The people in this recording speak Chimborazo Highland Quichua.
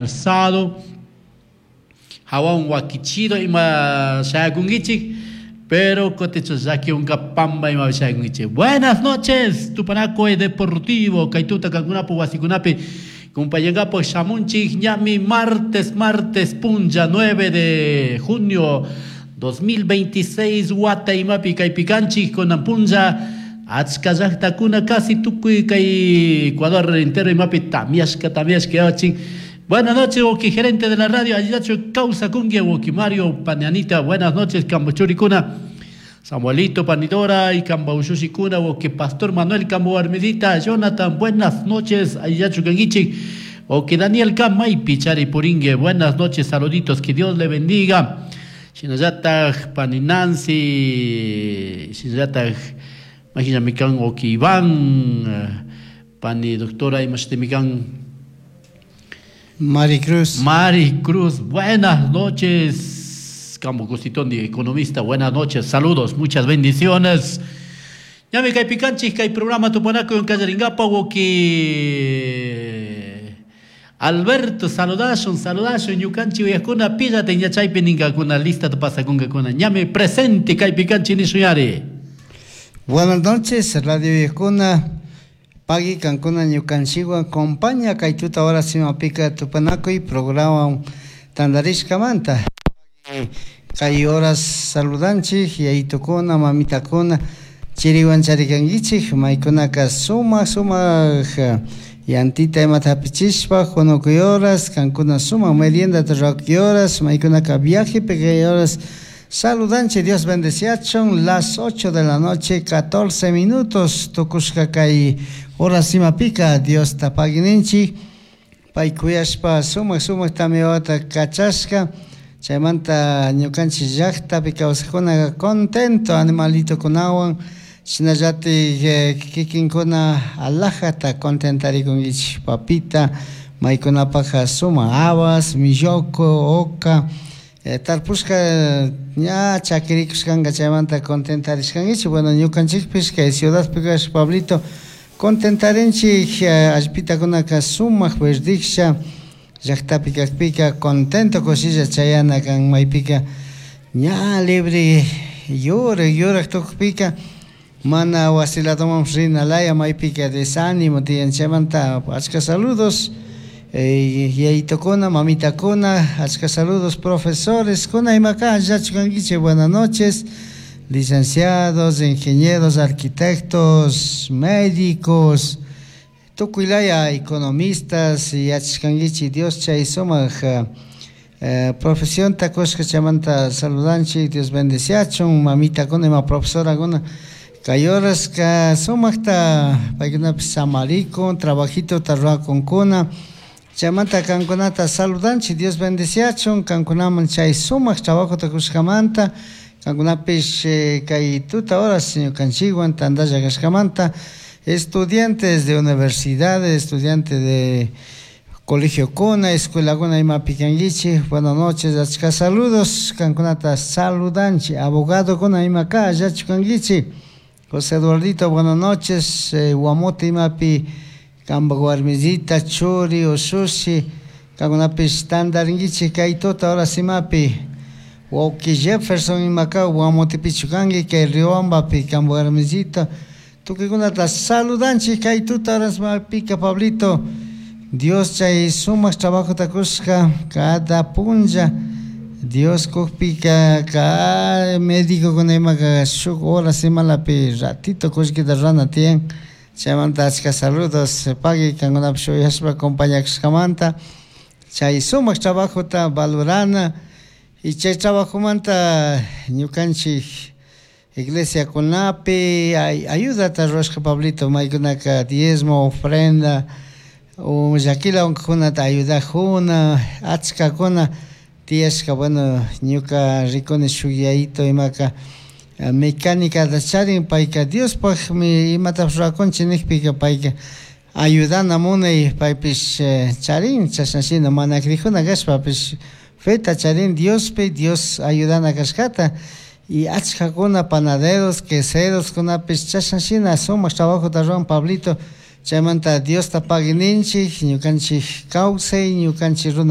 Alzado, hawan wakichido ima shayakunkichik, pero kotecho llakiwanka pamba ima shayakunkichik. Buenas noches, Tupanaco Deportivo, kaytuta kankunapu wasikunapi kumpayankapu shamunchik ñami martes, martes punlla 9 de junio 2026 wata imapi kaypi kanchik kunan punlla achka llaqtakuna casi tukuy kay Ecuador entero imapi tamiashka tamiashka yawachin. Buenas noches, Woki, gerente de la radio, Allillacho Causa Cungue, Woki Mario, Panianita, buenas noches, Cambochuricuna, Samuelito, Panidora y Cambaushushikuna, Woki Pastor Manuel Cambo Armidita, Jonathan, buenas noches, Allillacho Canguichi, Woki Daniel Camay, Pichari Puringue, buenas noches, saluditos, que Dios le bendiga. Shinallataj, Pani Nancy, Shinallataj, Imagina Woki Iván, Pani doctora, Imashitemikan, Mari Cruz. Mari Cruz, buenas noches. Campo Cositón, economista, buenas noches, saludos, muchas bendiciones. Ya me cae picanchis, cae programa Tupanaco en Callaringapa, que Alberto, saludashun, saludashun, ñukanchi uyakuna, pillate ñachaypi ninkakuna, lista pasakungakuna. Ñame presente kay picanchi nishuyari. Buenas noches, Radio Uyakuna. Pagui kankuna ñukanchikwan compaña kay tuta hora simapika tupanakuy programa tantarishkamanta. Kay horas saludanchik yayitukuna mamitakuna chiriwan charikankichik maykunaka sumak sumak yantita imata hapichishpa hunukuy horas kankuna sumak meriendata rurakuy horas maykunaka viajepi kay horas saludanchik. Dios bendeciachun. Las 8 de la noche 14 minutos tukushka kay horas imapika Dios tapagininchik pay kuyashpa sumak sumak tamiyawata kachashka chaymanta ñukanchik llaqtapi kawsaqkunaqa contento animalitokunawan shinallatik kikinkuna alajata contentarikunkichik papita maykunapajqa sumak habas, milloko, oca tarpushka ña chakirikushkanka chaymanta contentarishkankichik. Bueno, ñukanchikpish kay ciudadpi kash Pablito contentarinchik allpitakunaka sumak verdiksha llaqtapi kakpika contento kushilla chayana kan maypika ña libre yurak yurak tukpika mana wasiladoman rina laya maypika desánimo tiyan. Chaymanta achka saludos yayitukuna mamitakuna, achka saludos profesores kuna imaka allachu kankichik. Buenas noches, licenciados, ingenieros, arquitectos, médicos, tukuy laya economistas yachashkankichik. Dios chay sumak profesionta kushka chaymanta saludanchik. Dios bendeciachun mamitakuna ima profesorakuna kay horaska sumakta paykunapish samarikun trabajitota rurakunkuna chaymanta kankunata saludanchik. Dios bendeciachun kankunaman chay sumak trabajota kushkamanta kankunapish kay tuta horas ñukanchikwan tantalla kashkamanta. Estudiantes de universidades, estudiantes de colegio kuna, escuela kuna imapi kankichik, buenas noches, achka saludos, kankunata saludanchik. Abogado kuna imaka allachu kankichik. José Eduardito, buenas noches, Guamote imapi kanpak warmisita, churi, ushushi, kankunapish tantarinkichik kay tuta horas imapi. Wawki Jefferson imaka Guamotepichu kanki kay Riobambapi kanpak warmisita, tukuykunata saludanchik kay tuta horas imapika. Pablito, Dios chay sumak trabajota kushka cada punlla Dios kukpika ka médicokuna imaka shuk horas imalapi ratito kullkita rurana tiyan. Chaymanta achka saludos pagui kankunapish uyashpa acompañakushkamanta chay sumak trabajota valorana y chay trabajomanta ñukanchik iglesiakunapi ayudata rurashka Pablito maykunaka diezmo, ofrenda o llakila unkakunata ayudajuna achkakuna tiyashka. Bueno, ñuka rikuni shuk yayito imaka mecánica charin payka Diospakmi imatapish rurakunchik nikpika payka ayudana munay paypish charin chashna shina mana crijuna kashpapish feta charin Diospi Dios ayudana kashkata y achkakuna panaderos, queseros kunapish chashna shina sumak trabajota ruran Pablito. Chaymanta Diosta pagui ninchik, ñukanchik kawsay, ñukanchik runa.